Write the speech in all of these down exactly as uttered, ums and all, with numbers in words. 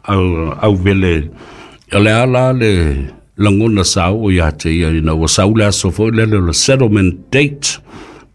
Au auvele o le a la le lagona sa oo iā te ia ina ua sau le aso foi lele o le settlement date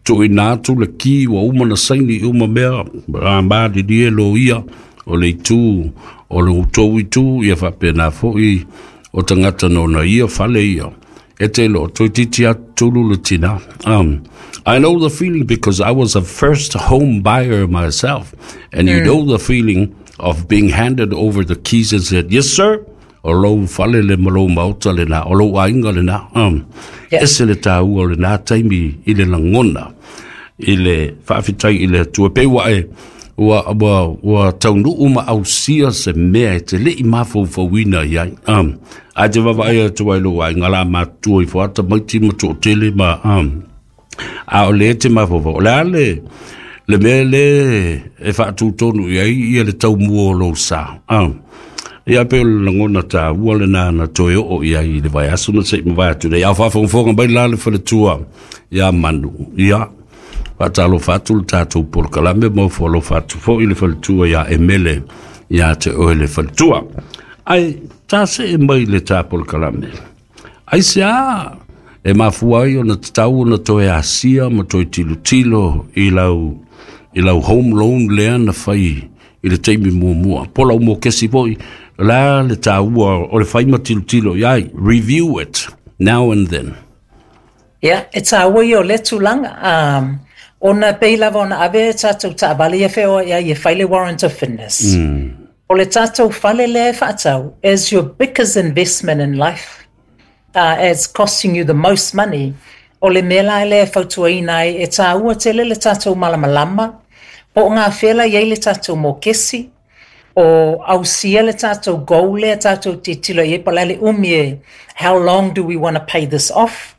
tuuina atu le ki ua uma na saini uma mea a malilie loia o le itu o le outou itu ia faapena foi o tagata nona ia fale ia e te lo toeitiiti atu tulu le tinā. Um, I know the feeling because I was a first home buyer myself. And you know the feeling of being handed over the keys and said, yes, sir, o lou fale le ma lou maota lenā, o lou aiga lenā. Um, Yeah. Ese le tāua o lenā taimi i le lagona, i le faafetai i le Atua. Pe ua e, ua, ua, ua taunuu ma ausia se mea e te le'i mafaufauina i ai. Um, ae te vaavaai atu ai lou aiga la matutua ifo ata maiti ma to'atele ma um, a o lē te mafaufau. O le a le, le mea lē e faatutonu i ai ia le taumua o lou sa. Um, ia pe o le lagona tāua lenā na toe oo i ai i le vaiaso na se'i mavae atu nei. A o faafogafoga mai la le faletua iā Manu. Ia, faatalofa atu le tatou polokalame ma ofo alofa atu foi le faletua iā Emele iā te oe le faletua. Ae tasee mai le tā polokalame. Aisea e mafua ai ona tatau ona toe asia ma toe tilotilo i lau i lau home loan lea na fai i le taimi muamua. Po lau mokesi foi, la le tāua o le fai ma tilotilo i ai. Review it now and then. Ia, e tāua ia o le tulaga. Um, ona pei lava ona ave e tātou taavale ia feoai ai e fai le warrant of fitness. Mm. O le tātou fale lea e faatau is your biggest investment in life. Uh, it's costing you the most money. O le mea la lea e fautuaina ai e tāua tele le tātou malamalama, po o ngā whela i ai le tātou mokesi, o ausia le tātou goal lea tātou tilotilo i ai po o le a le umi e how long do we want to pay this off?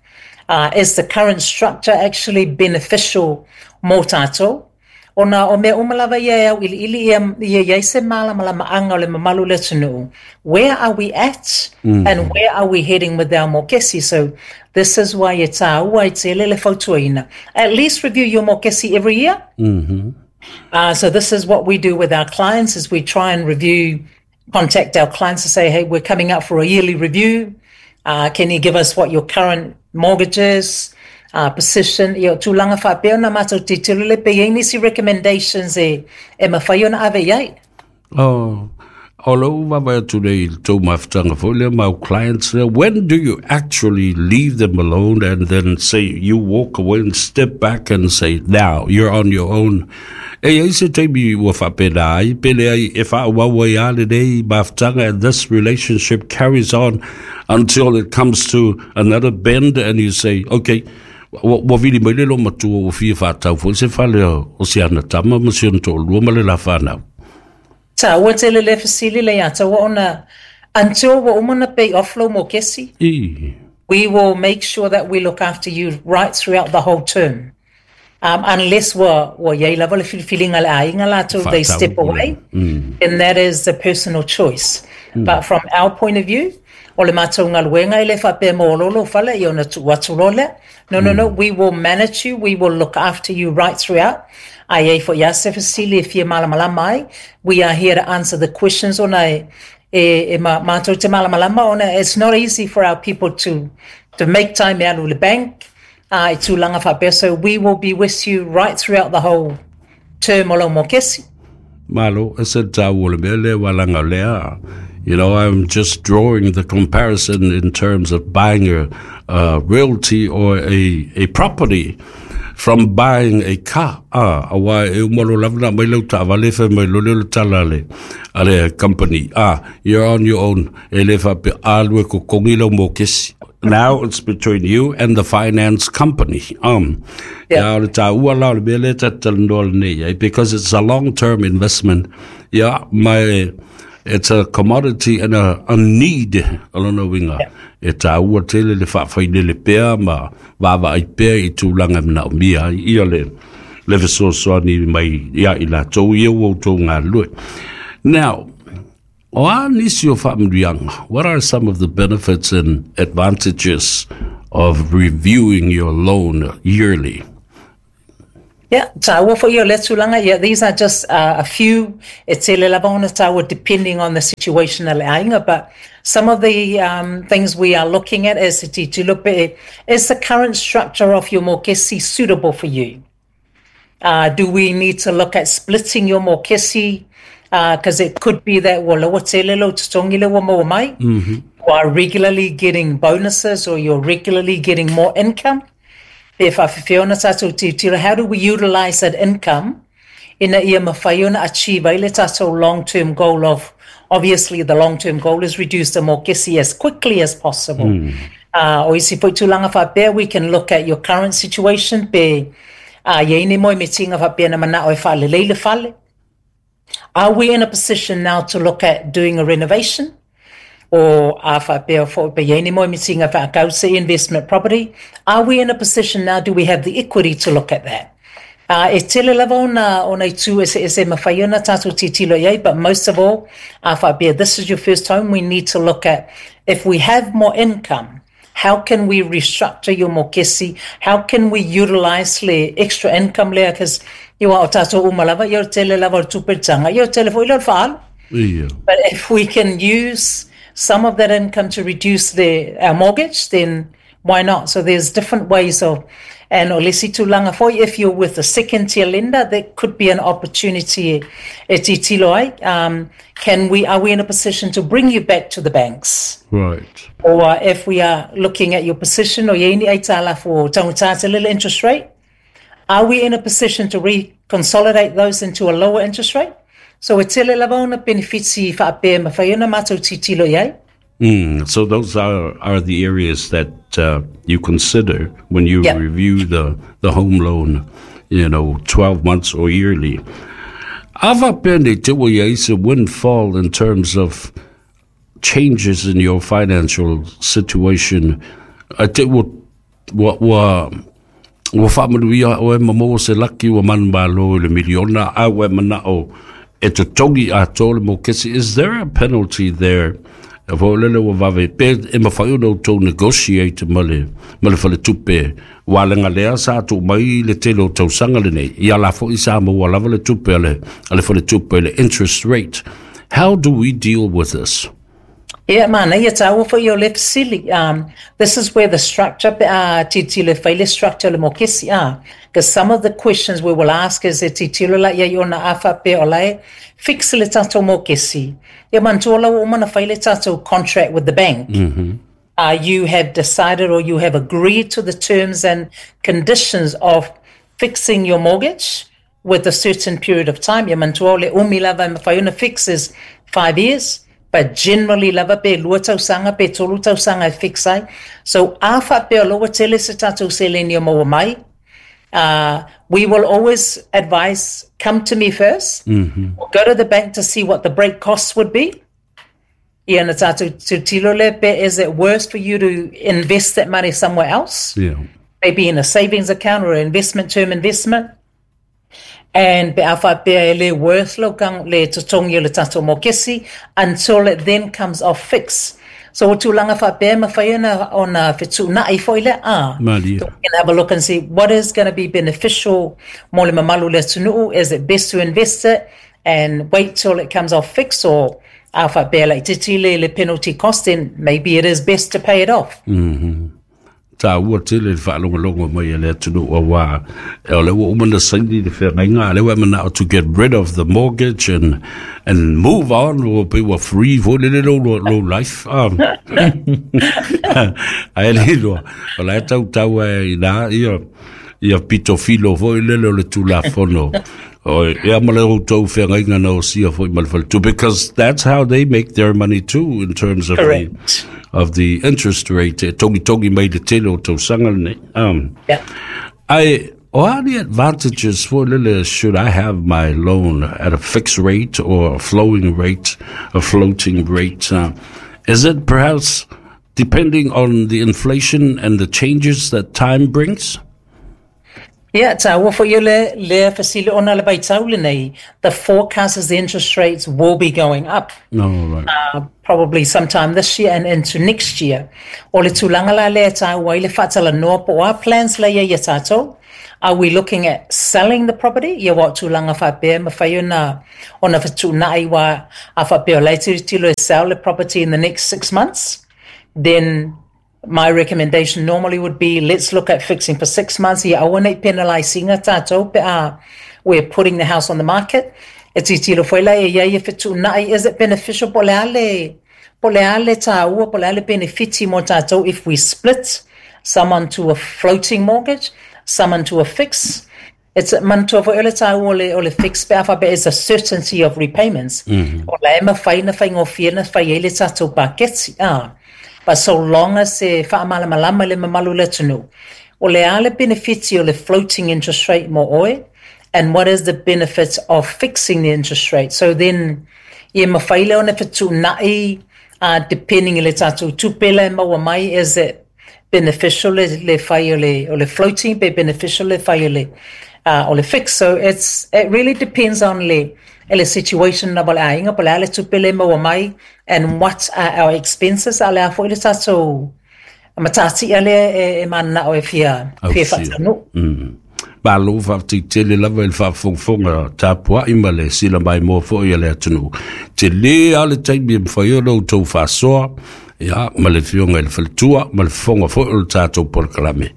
Uh, is the current structure actually beneficial mō tātou? Ona o mea uma lava ia e auiliili ia, ia iai se malamalamaaga o le mamalu o le atunuu. Where are we at and where are we heading with our mokesi? So this is why e tāua ai tele le fautuaina. At least review your mokesi every year. Uh, so this is what we do with our clients is we try and review, contact our clients to say, hey, we're coming up for a yearly review. Uh, can you give us what your current mortgage is, uh, position, ia o tulaga faapea ona matou tilotilo le pe i ai nisi recommendations e, e mafai ona ave i ai. Oh, o lou vaavaai atu nei i le tou mafutaga foi lea ma au clients lea, when do you actually leave them alone and then say you walk away and step back and say, now you're on your own? E iai se taimi ua faapena ai, pe leai e faaauau ai lava lenei mafutaga and this relationship carries on until it comes to another bend and you say, okay, ua ua vili mai le loomatua ua fia faatau foi se fale o o si ana tama ma si ona toalua ma le la fanau. Tāua tele le fesili le ia taua ona until ua uma na pay off lou mokesi, I. we will make sure that we look after you right throughout the whole term. Um, unless ua, ua iai lava le filifiliga a le aiga latou, they Faatau step away, then that is the personal choice. But from our point of view, o le matou galuega e le faapea mo lolo fale ia ona tuu atu loa lea. No, no, no, we will manage you, we will look after you right throughout. A iai foi lava se fesili e fia malamalama ai, we are here to answer the questions ona e, e, e ma, matou te malamalama ona it's not easy for our people to, to make time e alu i le bank, uh, i tulaga faapea. So we will be with you right throughout the whole term o lau mokesi. Malo, e se tāua le mea lea walanga lea. You know, I'm just drawing the comparison in terms of buying a, a realty or a, a property from buying a car. Ah, aua e uma loa lava na aumai lau taavale fai mai loa lea o le tala a le, a le company. Ah, you're on your own. E le faapea alu e totogi lau mokesi. Now it's between you and the finance company. Um, Yeah. yeah. o le tāua la o le mea lea ta talanoa lenei ai, because it's a long-term investment. Yeah, my, it's a commodity and a, a need o lona uiga. E tāua tele le faafailele pea ma vaavaai pea i tulaga e manaomia ai ia le, le fesoasoani mai ia i latou ia ua outou galulue. Now, o a nisi o faamanuiaga, what are some of the benefits and advantages of reviewing your loan yearly? Yeah, tāua foi o le tulaga. Yeah, these are just uh, a few. E tele lava ona tāua depending on the situation a le aiga, but some of the um, things we are looking at is te tilotilo pe, is the current structure of your mokesi suitable for you? Uh, do we need to look at splitting your mokesi? Because uh, it could be that ua laua tele lou totogi lea ua maua mai. Mm-hmm. You are regularly getting bonuses or you're regularly getting more income. Pe faafefea ona tatou tilotilo, how do we utilize that income ina ia mafai ona achieve ai le tatou long-term goal of, obviously the long-term goal is reduce the mokesi as quickly as possible. Mm. Uh, o isi foi tulaga faapea, we can look at your current situation pe uh, i ai ni moemitiga faapea na manao e faalelei le fale. Are we in a position now to look at doing a renovation? Or a faapea foi pe i ai ni moemitiga faakau se investment property? Are we in a position now, do we have the equity to look at that? Uh, e tele lava ona, ona itu eseese e mafai ona tatou tilotilo i ai, but most of all, a faapea, this is your first home, we need to look at if we have more income, how can we restructure your mokesi? How can we utilize le extra income lea? Because ia o tatou uma lava, ia o le tele lava o le tupe taga, ia o le tele foi lea o le faaalu. Yeah. But if we can use some of that income to reduce the, our mortgage, then why not? So there's different ways of, and o le isi tulaga foi, if you're with a second tier lender, that could be an opportunity e tilotilo ai. Um, can we, are we in a position to bring you back to the banks? Right. Or if we are looking at your position, o i ai ni aitalafu taugata tele le interest rate, are we in a position to reconsolidate those into a lower interest rate? So e tele lava ona benefits faapea e mafai ona matou tilotilo i ai. Mm, so those are, are the areas that uh, you consider when you Yeah. review the, the home loan, you know, twelve months or yearly. A faapea ne i te i ai se windfall in terms of changes in your financial situation. A te ua, ua, ua, ua faamanuia oe ma maua se laki ua manumalo i le miliona a ua e manao e totogi atoa le mokesi. Is there a penalty there? Fo lele ua vave pe e mafai ona outou negotiate ma le ma le faletupe ua lega lea sa tuu mai le tele o tausaga lenei ia la foi sa maua lava le tupe a le a le faletupe le interest rate. How do we deal with this? Yeah, man, ia tāua foi o le fesili. Um, this is where the structure, uh, tilotilo e fai le structure le mokesi, ah. Because some of the questions we will ask is e tilotilo la ia i ona a faapea o la e fix le tatou mokesi. Ia manatua la ua uma ona fai le tatou contract with the bank. Mm-hmm. Uh, you have decided or you have agreed to the terms and conditions of fixing your mortgage with a certain period of time. Ia manatua o le umi lava e mafai ona fix is five years. But generally lava pe lua tausaga pe tolu tausaga e fix ai. So a faapea o la ua tele se tatou seleni o maua mai, uh, we will always advise come to me first. Mm-hmm. Or go to the bank to see what the break costs would be. Ia na tatou tilotilo le pe is it worth for you to invest that money somewhere else? Yeah. Maybe in a savings account or an investment term investment. And pe a faapea e le worth lo kang le totogi o le tatou mokesi until it then comes off fix. So o tulaga faapea e mafai ona ona fetuunai foi le a. Malie. So we can have a look and see what is going to be beneficial mo le mamalu o le atunuu. Is it best to invest it and wait till it comes off fix, or a faapea laitiiti le le penalty cost, then maybe it is best to pay it off. Mm-hmm. Tāua tele le faalogologo mai a le atunuu auā o le ua uma na saini le feagaiga a lea ua e manao to get rid of the mortgage and, and move on ua pe ua free foi lele lou lou life um, ae le iloa o la e tautau ai i ina ia ia pito filo foi lele o le Tulafono o ia ma le outou feagaiga na osia foi ma le faletupe, because that's how they make their money too, in terms of the Correct. of the interest rate e togitogi mai le tele o tausaga lenei. Um, Yeah. I what are the advantages for lele should I have my loan at a fixed rate or a flowing rate, a floating rate? Uh, is it perhaps depending on the inflation and the changes that time brings? Ia, taua foi ia le lea fesili ona le vaitau lenei, the forecast is the interest rates will be going up. No, right. Uh, probably sometime this year and into next year. O le tulaga la lea e taua ai le faatalanoa po o a plans la ia ia tatou. Are we looking at selling the property? Ia aua o tulaga faapea e mafai ona ona fetuunai aua a faapea o la e tilotilo e sell the property in the next six months, then my recommendation normally would be let's look at fixing for six months ia aua nei penalise ina tatou pe a we're putting the house on the market. E tilotilo foi la e iai e fetuunai, is it beneficial po o le a le po o le a le taua po o le a le benefiti mo tatou if we split some onto a floating mortgage, some onto a fix. It's manatua foi o le taua o le, o le fix pe a faapea is a certainty of repayments. O la e mafai na faigofie na fai ai le tatou paketi. Ah. But so long as e faamalamalama le mamalu o le atunuu, o le a le benefiti o le floating interest rate mo oe, and what is the benefit of fixing the interest rate. So then, ia mafai lea ona fetuunai, uh, depending i le tatou tupe la e maua mai, is it beneficial le, le fai o le, o le floating, pe beneficial le fai o le, uh, o le fix. So it's, it really depends on le, le situation lava o le aiga, po o le a le tupe le maua mai, and what are our expenses, a o le a foi le tatou matatia lea e, e mananao e fia, fia Ausia. faataunuu. Mm. Malo faafetai tele lava i le faafogafoga tapuai ma le sila maimoa foi a le atunuu. Tele lava le taimi e mafai ona outou faasoa, ia, ma le afioga i le faletua ma le fofoga foi o le tatou polokalame.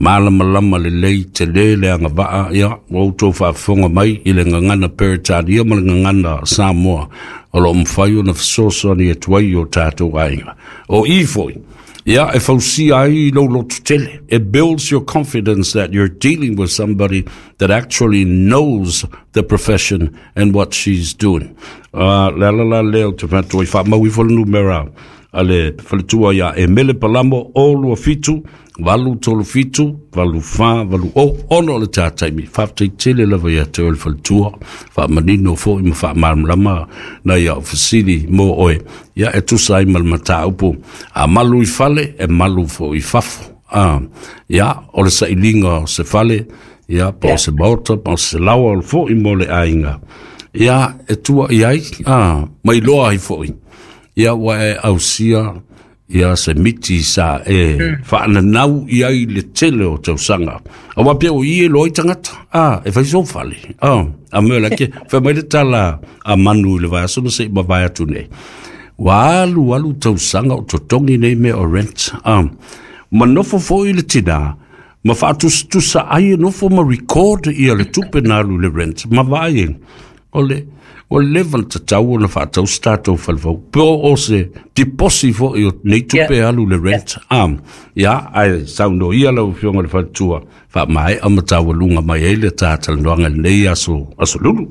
Malamalama lelei tele le agavaa, ia, ua outou faafofoga mai i le gagana Peretania ma le gagana Samoa o loo mafai ona fesoasoani atu ai i o tatou aiga. O i foi, ia, e fausia ai lou loto tele. It builds your confidence that you're dealing with somebody that actually knows the profession and what she's doing. Uh, le ala la lea o te manatu ai faamau ifo le numera a le faletua ia Emele Palamo o lua fitu, valu tolu fitu, valu fa, valu o, ono o le tā taimi. Faafetai tele lava ia te oe le faletua, faamanino foi ma faamalamalama nai au fesili mo oe. Ia e tusa ai ma le mataupu, a malu i fale, e malu foi i fafo. Ah, ia, o le sailiga o se fale, ia, po o se maota, po o se laoa o le foi mo le aiga. Ia, e tua i ai, ah, mai loa ai foi. Ia, ua e ausia, ia se miti sa e mm. faananau i ai le tele o tausaga. Aua pea o i e loa i tagata, ah, e fai sou fale. Ah, a mea la ke, fai mai le tala a manu i le vaiaso na sei mavae atu nei. Ua alu alu tausaga o totogi nei mea o rent. Ah, ma nofo foi le tina, ma faatusatusa ai e nofo ma record ia le tupe na alu i le rent. Ma vaai e, o le, o le leva ona tatau ona faatau se tatou fale fou. Po o se tiposi foi o nei tupe Yeah. alu le rent. Yeah. Um, ia, ae saunoa ia lau afioga i le faletua, faamaea ma taualuga mai ai le talanoaga i lenei aso, aso lulu.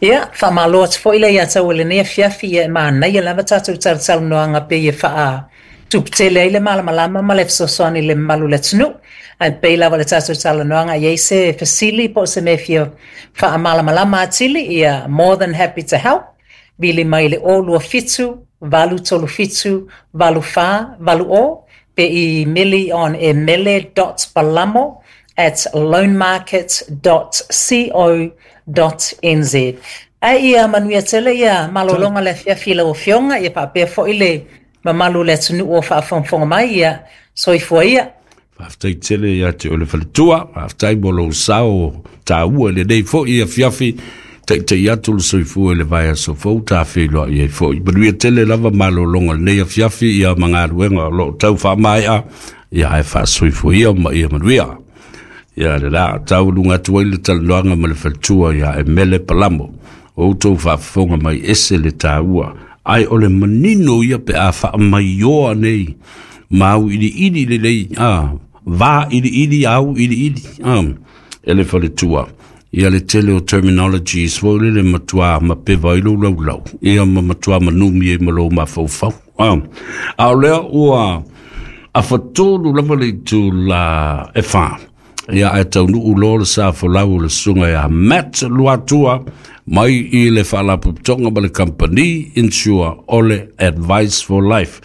Ia, faamalo atu foi lea ia te au i lenei afiafi, ia e manaia lava tatou talatalanoaga pei e faatuputele ai le malamalama ma le fesoasoani i le mamalu o le atunuu. Ae pei lava le tatou talanoaga i ai se fesili po o se mea fia faamalamalama atili, ia more than happy to help. Vili mai i le o lua fitu, valu tolu fitu, valu fa, valu o, pe imeli on emele dot palamo at loanmarket dot co dot nz. Ae ia manuia tele ia malologa le afiafi i lau afioga, ia faapea foi le mamalu o le atunuu o faafogafoga mai, ia soifua ia. Faafetai tele ia te oe le faletua, faafetai mo lou sao taua i lenei foi afiafi, taitai atu le soifua i le vaiaso fou ta feiloai ai foi. Manuia tele lava malologa o lenei afiafi ia ma galuega o loo tau faamaea, ia ae faasoifua ia ma ia manuia. Ia le la taualuga atu ai le talanoaga ma le faletua ia Emele Palamo. O outou faafofoga mai ese le taua, ae o le manino ia pe a faamaioa nei ma auiliili lelei, a va iliili au iliili, a e le faletua. Ia le tele o terminologies foi lele matua mapeva ai lou laulau, ia ma matua manumi ai ma lou mafaufau. A, a o lea ua afatolu lava le itula e fa. Ia ae taunuu loa le sa folau o le susuga ia Matt Luatua mai i le faalapotopotoga ma le company insure o le Advice for Life.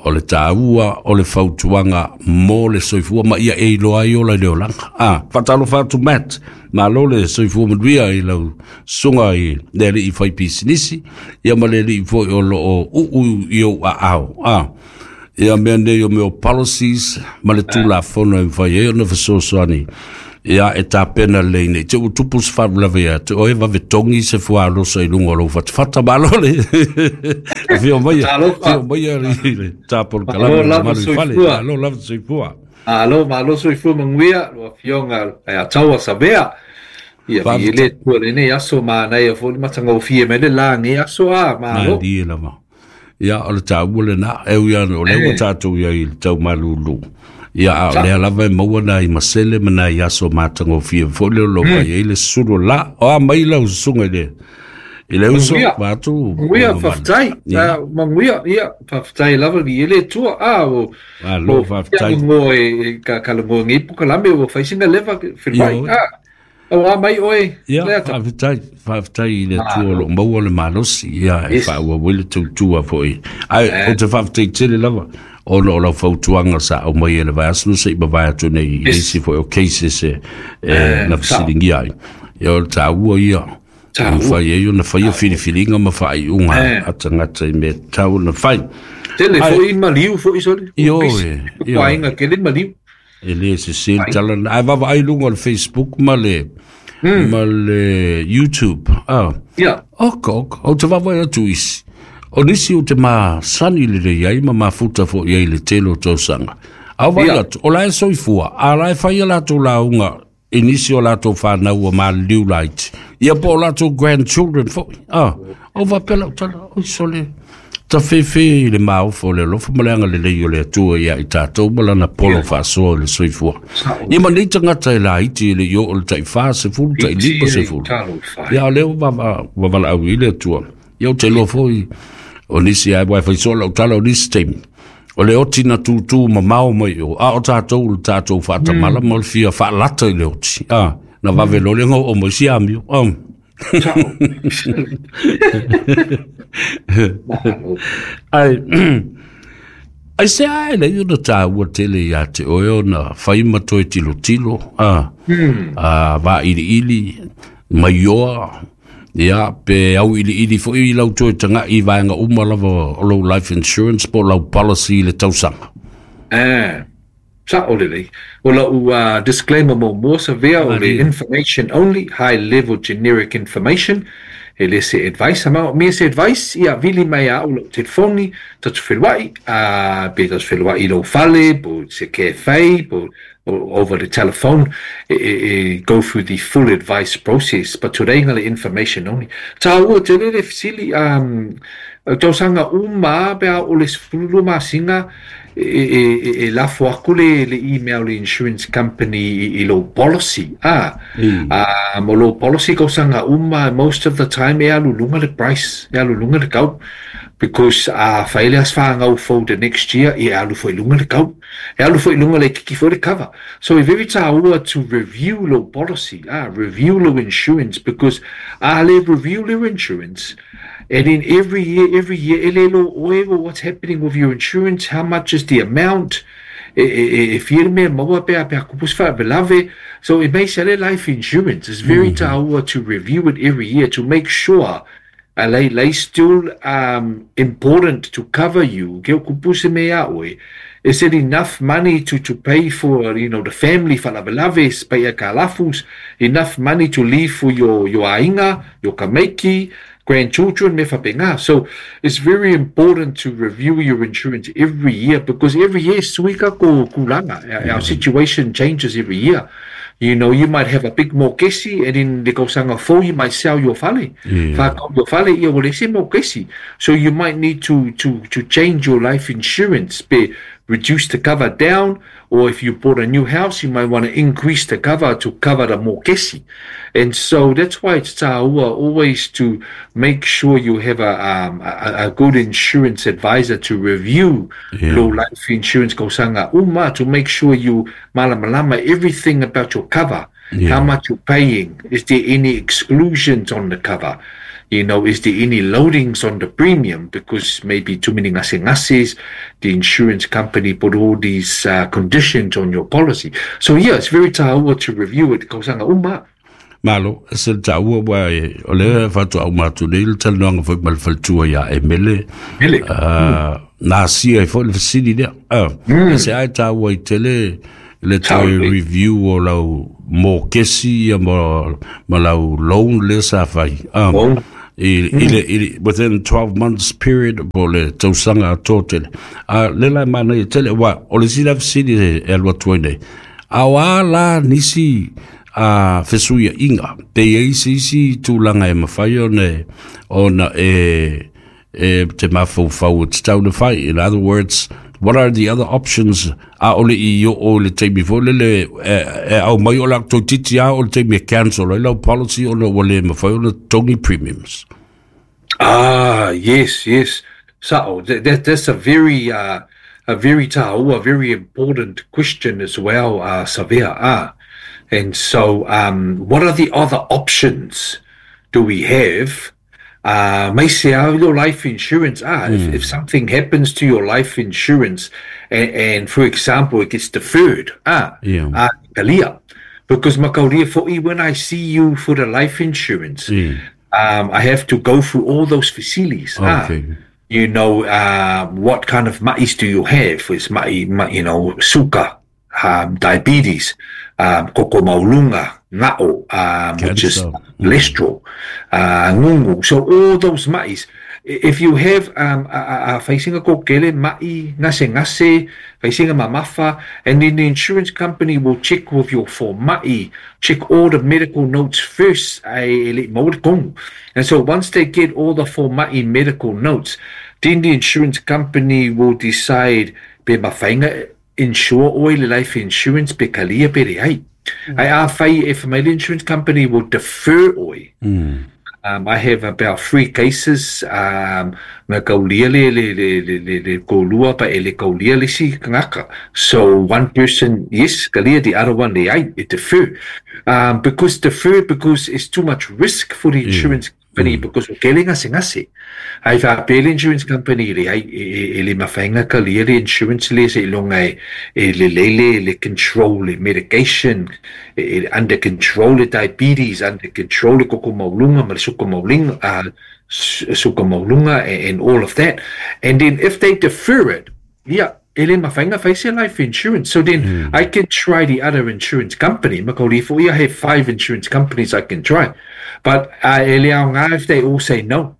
O le tāua o le fautuaga mo le soifua ma ia e iloa ai ola i le olaga. Ah, faatalofa atu Matt, malo le soifua manuia i lau susuga i le alii fai pisinisi, ia ma le alii foi o loo uu i ou aao. Ah, ia mea nei o mea o policies ma le tulafono e mafai ai ona fesoasoani ia e tapena lelei nei te ua tupu se faalavelave ia te oe vave togi se fuaalosa i luga o lou fatafata. Malo le afio maia, afio maia i le tapo le kalame lava mamalu i fale. Soifua. Malo lava soifua. Malo, malo soifua manuia, lau afioga ia Taua Savea. Ia vi le tua lenei aso manaia foi le matagofie mai le lagi aso a, malo. Malie lava. Ia o le taua lena, e ui ana o lea ua tatou iai i le taumalulu. Ia a o lea lava e maua nai masele ma nai aso matagofie foi lea o lo o fai ai le susulu o la. O a mai lau susuga i le i le uso Manuia. vaatu o Manuia, mamalu. faafetai. Ia, Manuia, ia, faafetai lava vi le tua a o malo o faafetai. ngo e ka ka ngo ngi pu kalame o fai singa leva Ia filwai. oi. A o a mai oe Ia, lea ta. faafetai, faafetai i le Atua o Malo. loo maua le malosi, ia e Yes. faaauau ai le tautua foi. Ae Eh, ou te faafetai tele lava ona o lau fautuaga sa aumai e le vaiaso na seʻi mavae atu nei i Yes. isi foi o cases e, e Eh, na sao. fesiligia ai. Ia o le taua ia e Taua. mafai ai ona faia filifiliga ma faaiuga Eh. a tagata i mea tatau ona fai. Tele Ae foi maliu foi sole. ioe, Bisi. ioe. Aiga kele maliu. E lē sesē le Ai. tala lena. Ae vaavaai luga o le Facebook ma le Mm. ma le YouTube. Ah. Ia. Oka, oka. Ou te vaavaai atu isi. O nisi o te masani lelei ai ma mafuta foʻi ai le tele o tausaga. A o vaai Ia. atu, o la e soifua, a la e fai a latou lauga i nisi o latou fanau ua maliliu laiti. Ia po o latou grandchildren foʻi. Ah, o faapea lau tala, oi sole. Tafefe i le maofo o le alofa ma le agalelei o le Atua ia i tatou ma lana polo Ia. faasoa i le soifua. Sao. Ia ma nei tagata e laiti e le i oo le taʻifā sefulu, taʻilima Iti e sefulu. talo fai. Ia o lea ua vava- ua valaau i le Atua. Ia ou te iloa foi o nisi ai uae faisoa lau tala o nisi taimi. O le oti na tūtū mamao mai o, a o tatou le tatou faatamala ma o le fia faalata i le oti. Ah, na vave loa le goo mai si amio. Ah. Sao. Malo. Ai, ai se ae lei ona tāua tele ia te oe ona fai ma toe tilotilo, ah, Hmm. ah, vailiili, maioa, ia, pe au iliili foi i lau toe tagaʻi i vaega uma lava o lou life insurance po o lau policy i le tausaga. Eh. Sao lelei. O lau uh, disclaimer mo mo sa vea o le Malie. information only, high level generic information. E le se advice, ama mea se advice, ia vili mai a au lau telefoni, tatu whenwai, uh, pe tatu whenwai i lau fale, po se cafe, po o- over the telephone, e, e, e go through the full advice process, but today ngā le information only. Tāua te lele fesili, um, tausaga uma pe a o le sefulu masina e, e, e, e lafo aku le, le email le insurance company i, i lou policy. Ah, Mm. ah, mo lou policy tausaga uma, most of the time e alu luga le price, e alu luga le kau. Because a fai le asfanga fo the next year, e alu foi luga le kau. E alu foi luga le kiki foi le cover. So e very tāua to review lou policy, ah, review lou insurance, because a le review lou insurance, and then every year, every year, e le lo oe o what's happening with your insurance, how much is the amount, e, e, e, e fia le mea maua pea pea kupus whaavelave. So it may sell life insurance. It's very tāua to review it every year to make sure a lei, lei still um, important to cover you. Ke o kupuse mea oe. Is it enough money to, to pay for, you know, the family whalavelave, spea kalafus, enough money to leave for your, your ainga, your kameiki, grandchildren, me whapenga. So it's very important to review your insurance every year, because every year suika ko kulanga. Our, our situation changes every year. You know, you might have a big mokesi, and in the kausanga fo, you might sell your fale. Yeah. Whakau your fale, ia wale se mokesi. So you might need to, to, to change your life insurance, be reduce the cover down, or if you bought a new house, you might want to increase the cover to cover the mokesi. And so that's why it's tāua always to make sure you have a, um, a, a good insurance advisor to review Yeah. your life insurance kausanga uma, to make sure you malamalama everything about your cover, Yeah. how much you're paying, is there any exclusions on the cover? You know, is there any loadings on the premium? Because maybe too many ngasengases, the insurance company put all these uh, conditions on your policy. So yeah, it's very taua to review it. Kausanga uma. Malo, se le taua wa e, o le whatua au mātu nei, le talanoanga foi ma le faletua ia e mele. Mele. Uh, nā sia i foi le fesili lea. Uh, mm. Se ai taua i tele, le toe review o lau mōkesi ia ma, ma lau loan le sa whai. Um, Loan. I, mm. i, i, within twelve months period po le tausaga a tō tele. Uh, le lai mana i tele, wa, o le sila fesili e, e alua tuai nei. A o a la nisi a fesuia inga, pe i isi isi tūlanga e mawhai o ne, ona e, e te mawhaufau o te tauna whai. In other words, what are the other options? A ole i o o le taimi fo le le e, e au mai o la tau titi a o le taimi e cancel ai lau policy o le wale mawhai o le tongi premiums. Ah, yes, yes. So that, that that's a very uh, a very taua, very important question as well, uh, Savea. Ah. And so, um, what are the other options do we have? Uh, may say, ah, your life insurance. Ah, mm. if, if something happens to your life insurance, and, and for example, it gets deferred. Ah, yeah. Ah, kalia. Because makaulia fo'i, when I see you for the life insurance, mm. um, I have to go through all those facilities. Okay. Ah, you know, uh, what kind of ma'is do you have? Is ma'i, ma, you know, suka, um, diabetes, um, koko maulunga, nga'o, um, which is cholesterol, uh, ngungu. So all those ma'is. If you have um, a, a facing a kokele, ma'i, ngase ngase, facing a mamafa, and then the insurance company will check with your for ma'i, check all the medical notes first. And so once they get all the for ma'i medical notes, then the insurance company will decide, be mawhainga insure oil life insurance pe kalia pe reai. Mm. I a whai if my insurance company will defer oi. Mm. Um, I have about three cases um na kaulia le le le le le, le kolua pa e le kaulia le si ngaka. So one person yes kalia, the other one le ai it defer. Um, because defer because it's too much risk for the insurance mm. company mm. because o kele ngase ngase. Ai fa pele insurance company le ai e le mawhainga ka le insurance le se longa e le lele le control le medication e under control le diabetes, under control le koko maulunga ma le suka maulinga, uh, suka maulunga and all of that. And then if they defer it, yeah, ele mawhainga whaise life insurance. So then mm. I can try the other insurance company. Makauri I have five insurance companies I can try. But uh, ele au ngā, if they all say no,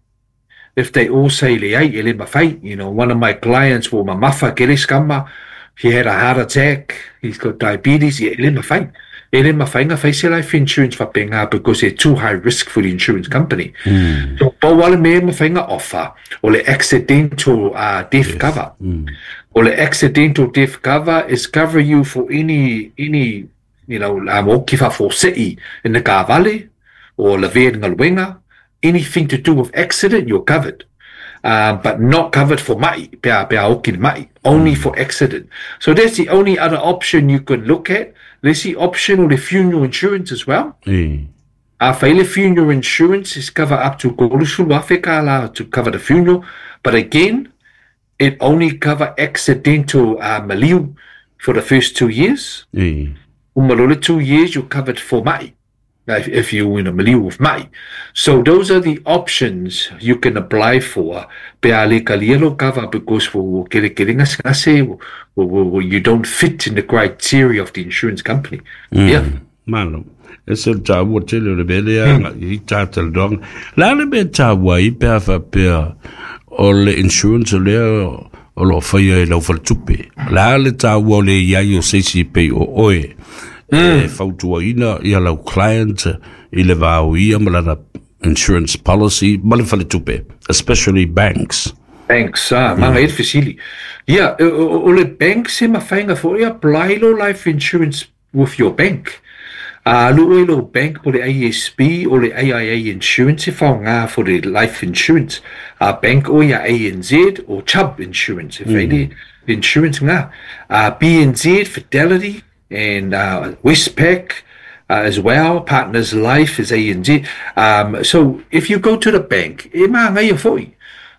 if they all say le ai, ele mawhai, you know, one of my clients wo mamafa kere skama, he had a heart attack, he's got diabetes, ele mawhai. Ele mawhainga whaise life insurance whapenga because they're too high risk for the insurance company. Mm. So pawale me mawhainga offer, o le accidental uh, death yes. cover. Mm. O le accidental death cover is cover you for any, any, you know, um, o ki whafosei in the kavale, or lavea ngaluenga, anything to do with accident, you're covered. Um, but not covered for ma'i, pea, pea oki ma'i, only mm. for accident. So that's the only other option you could look at. There's the option or the funeral insurance as well. Mm. Uh, faile funeral insurance is cover up to golusulu to cover the funeral. But again, it only cover accidental uh, maliu for the first two years. Mm. Umalole two years, you're covered for ma'i. If, if you're in a milieu with mai. So those are the options you can apply for. Pe ale kalielo cover because for kere kere ngase you don't fit in the criteria of the insurance company. Mm. Yeah. Malo. Ese taua tele o le mele a i tātala doanga. La le me taua i pea whapea o le insurance o lea o lo whaia e lau whaltupe. La le taua o le iai o seisi pei o oe. Mm. E fautuaina ia lau client i le vao ia ma lana insurance policy ma le whaletupe, especially banks. Banks, ah, mm. Manga e fesili. Yeah, o, o le bank se mawhainga fo i apply lo life insurance with your bank. Uh, lo lo bank po le A S B o le A I A insurance e whaonga for the life insurance. Uh, bank o ia A N Z o Chubb insurance. E mm. insurance ngā. Uh, B N Z, Fidelity, and uh, Westpac, uh, as well. Partners Life is A N Z. Um, so if you go to the bank, e maangai foi.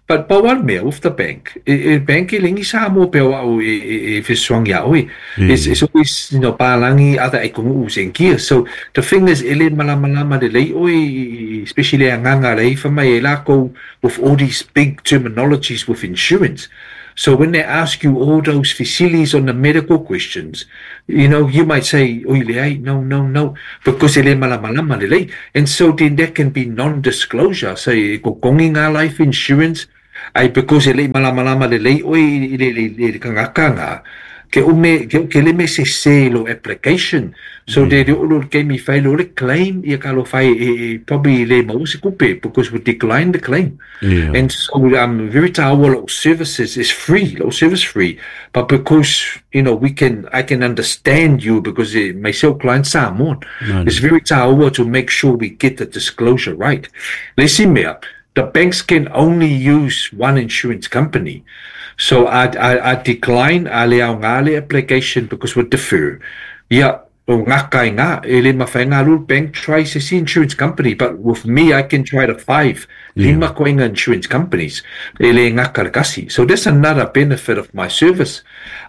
But pa one mea with the bank, e, e bank e lengi sa mo pe au e e e fesoangi a oe. It's, it's always, you know, palangi other e kongu usengia. So the thing is, ele malamalama le lei oe, especially a nganga lei whamai e lako with all these big terminologies with insurance. So when they ask you all those facilities on the medical questions, you know, you might say, oi le no, no, no, because ele malamalama le lei. And so then there can be non-disclosure. Say, ko kongi ngā life insurance, ai because ele malamalama le lei oi le le le kangakanga ke ume ke ke le me se se lo application. So mm. they all ke mi fai lo le claim ia ka lo fai e probably le mo se kupe because we decline the claim. Yeah. And so um very our services is free, lo service free, but because you know we can I can understand you because uh, myself clients are more. No, it's very taua to make sure we get the disclosure right. Let's see me the banks can only use one insurance company. So I, I, I decline a le au ngā application because we defer. Yeah, o ngā kai ngā, e le mawhai ngā lul bank tries to see insurance company, but with me I can try the five, yeah. Lima koinga insurance companies, e le ngā karakasi. So that's another benefit of my service.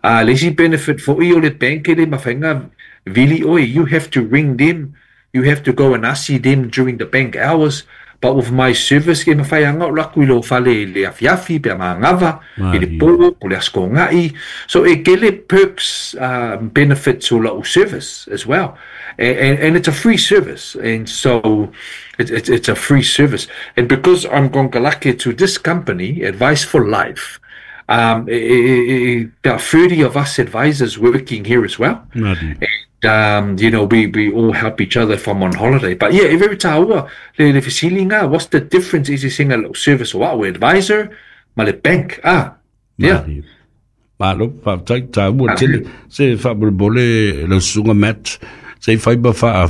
Uh, le si benefit for i o le bank e le mawhai ngā vili oi, you have to ring them, you have to go and ask them during the bank hours. But with my service, ke mawhai anga o laku i lo whale le afiafi, pe maangava, i le pō, po le asko ngai. So e kele perks, um, benefits o lau service as well. And, and, and it's a free service. And so it, it, it's a free service. And because I'm gongalake to this company, Advice for Life, um, e, e, e, there are thirty of us advisors working here as well. Nadi. Um, you know, we, we all help each other if I'm on holiday. But yeah, every taua, le le fesilinga, what's the difference? Is it single service or what? Advisor, ma le bank. Ah, yeah. Malo, fa tai taua tele se fa bole le sunga mat se fai ba fa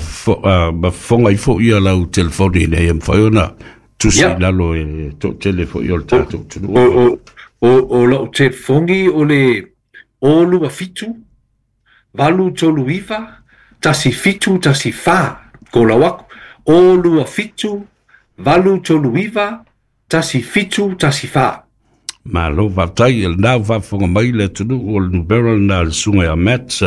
ba fonga ifo ia lau telefoni nei em faiona tusi lalo e to telefo i o tatou tunu. O o o lau telefoni o le o lua fitu valu tolu iva, tasi fitu, tasi fa, ko lau aku, o lua fitu, valu tolu iva, tasi fitu, tasi fa. Malo fatai, el nau whafonga mai le tunu o le nubera na le sunga ia Matt,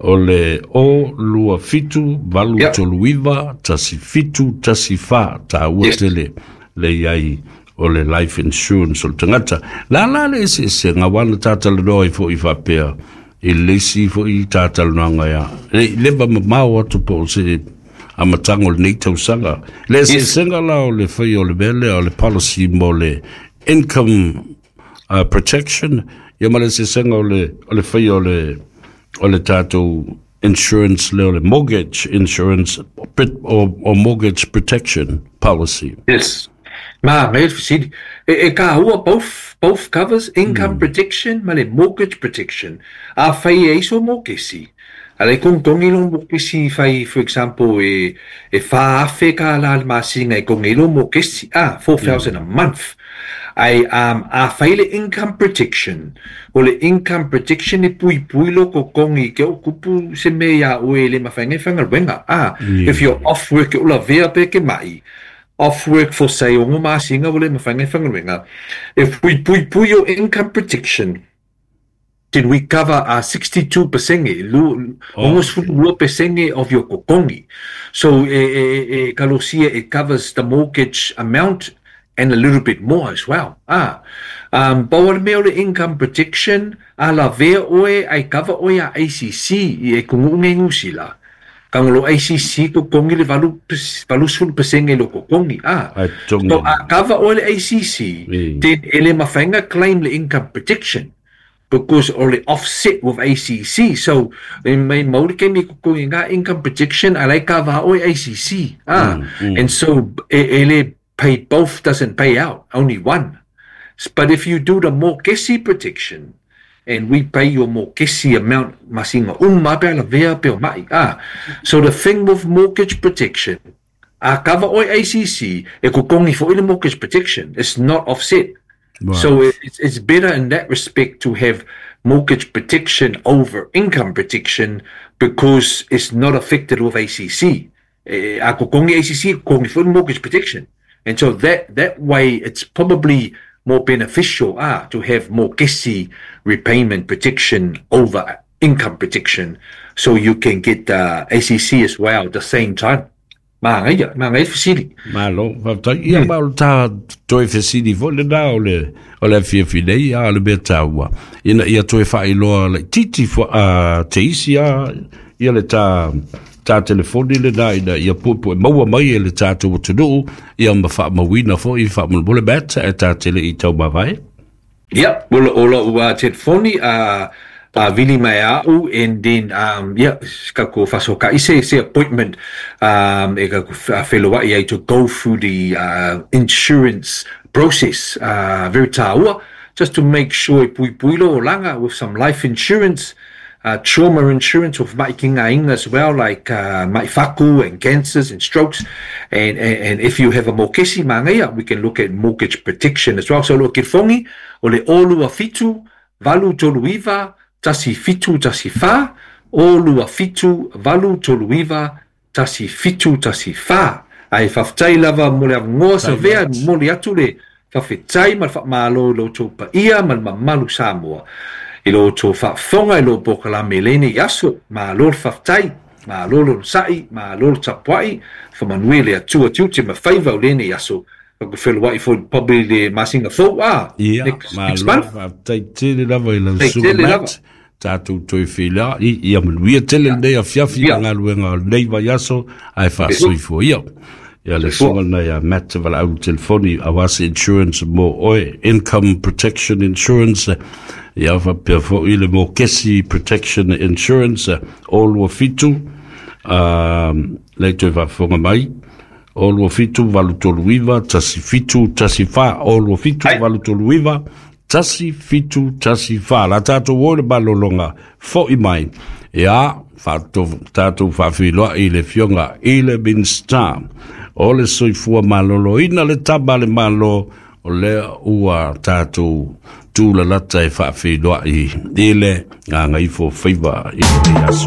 o le o lua fitu, valu yep. tolu iva, tasi fitu, tasi fa, ta ua yes. tele, le iai o le life insurance o le tangata. La la le se se ngā wana tātala noa i fo i whapea, i lesi fo i tātala noa ia. Le leva mamao atu po o se amatango le nei tausaga. Le se yes. senga la o le whai o le mele o le policy mo le income uh, protection, ia ma le se senga o le, o le whai o le, o le tātou insurance le o le mortgage insurance or, or mortgage protection policy. Yes. Ma, me fisili. E, e ka hua both, both covers income mm. protection ma le mortgage protection. A whai e iso mortgage. A le kong ilo mortgage whai, for example, e, e whaafe ka la le masinga e kong ilo mortgage. Ah, four thousand mm. a month. Ai, um, a whai le income protection. O le income protection e pui pui lo ko kongi ke o kupu se me ia oe le mawhainga whanga wenga. Ah, yeah. If you're off work e ula vea pe ke mai. Off work for say ongo masinga o le mawhainga whanga wenga. If we pui pui your income protection, then we cover our sixty-two percent, almost forty percent of your kokongi. So, e, e, e, kalosia, it covers the mortgage amount and a little bit more as well. Ah, um, bawa mea o le income protection, a la vea oe, ai cover oe a A C C, i e kungu ngusila. Kangolo A C C ko kongi le valu, valu sulu pesenge lo ko kongi. Ah, so a cover oe le A C C, mm. then ele mawhainga claim le income protection, because ole offset with A C C. So, in may mauri ke mi ko kongi ngā income protection, a lai cover oe A C C. Ah, mm, mm. And so, e, ele pay both doesn't pay out, only one. But if you do the mortgage protection, and we pay your mortgage amount, masinga umma pe ala vea pe o mai. Ah, so the thing with mortgage protection, a cover oi A C C, e kokongi for the mortgage protection, it's not offset. Right. So it's, it's better in that respect to have mortgage protection over income protection because it's not affected with A C C. Eh, a kokongi A C C, kokongi foi mortgage protection. And so that, that way it's probably more beneficial ah, to have mokesi repayment protection over income protection so you can get uh, A C C as well at the same time. Māngai, māngai fesili. Malo, faafetai. Ia ma o le tā toe fesili foi lenā o le o le afiafi nei, a o le mea taua. Ina ia toe faailoa laitiiti fo a te isi a ia le tā tā telefoni lenā ina ia puepue maua mai e le tatou atunuu ia ma faamauina foi faamolemole Matt e tā tele i taumavae. Yep, o lo o lo ua telefoni a uh, vili mai au and then um yeah, ka ko faso ka ise se appointment um e ka wheloai ai to go through the uh, insurance process uh, very tāua just to make sure e pui pui lo langa with some life insurance, uh, trauma insurance of maikinga inga as well, like uh, maifaku and cancers and strokes. And, and, and if you have a mokesi mangaia, we can look at mortgage protection as well. So lo kirfongi, o le olu a fitu, valu tolu iva, tasi fitu tasi fa, olu a fitu, valu tolu iva, tasi fitu tasi fa. Ai faafetai lava mo le avanoa sa vea mo le atu le faafetai ma le faamalo i lo outou paia ma le mamalu Samoa i lo outou faafofoga i lo polokalame lenei aso. Malo le faafetai, malo le onosa'i, malo le tapua'i, faamanuia le Atua tiute ma faiva o lenei aso. Fakufeloa'i foi probably le masina fou a Ia, next, next malo, month. Faafetai tele lava i lau Faafetai suga tele lava. Matt. Tatou toe feiloai, ia manuia tele lenei afiafi Ia. ma galuega o lenei vaiaso ae faasoifua ia. Ia le Soifua. suga lenei a Matt Valaau telefoni auā se insurance mo oe, income protection insurance, ia faapea foi le mokesi protection insurance, o lua fitu, um, le toe faafofoga mai, o lua fitu valu tolu iva, tasi fitu, tasi fa, o lua fitu Ai. valu tolu iva, tasi fitu tasi fa. La tātou o le malologa fo'i mai. Ia, fatou, tātou faafeiloai i le fioga i le Minista. O le soifua maloloina le tama le malo, o lea ua tātou tūlalata e faafeiloai i le gagaifo faiva i le aso.